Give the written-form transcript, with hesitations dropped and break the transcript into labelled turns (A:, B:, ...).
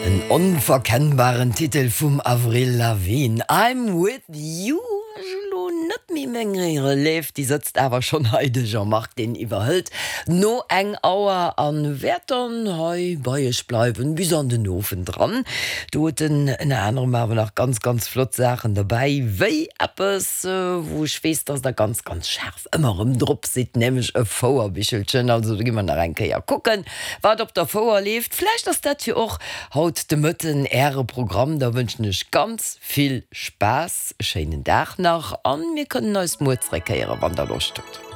A: En onverkennbaren Titel vum Avril Lavigne, I'm With You. Ech elo net méi meng Relève, déi sëtzt awer schonn hei, de Jean-Marc, deen iwwerhëlt no eng Auer an wäert dann hei bei iech bleiwen bis an den Owend dran. Do huet en ënner anerem awer nach ganz, ganz flott Saachen derbäi, wéi eppes, wou ech weess, dass der ganz, ganz schaarf ëmmer erëm drop sidd, nämlech e Fouerbichelchen. Also do gi mer nach eng Kéier kucken, wat op der Fouer leeft. Vläicht ass dat jo och haut de Mëtten Äre Programm. Da wënschen ech ganz vill Spaass, e schéinen Dag nach an mir kënnen eis muer zréckhéieren, wann der Loscht hutt.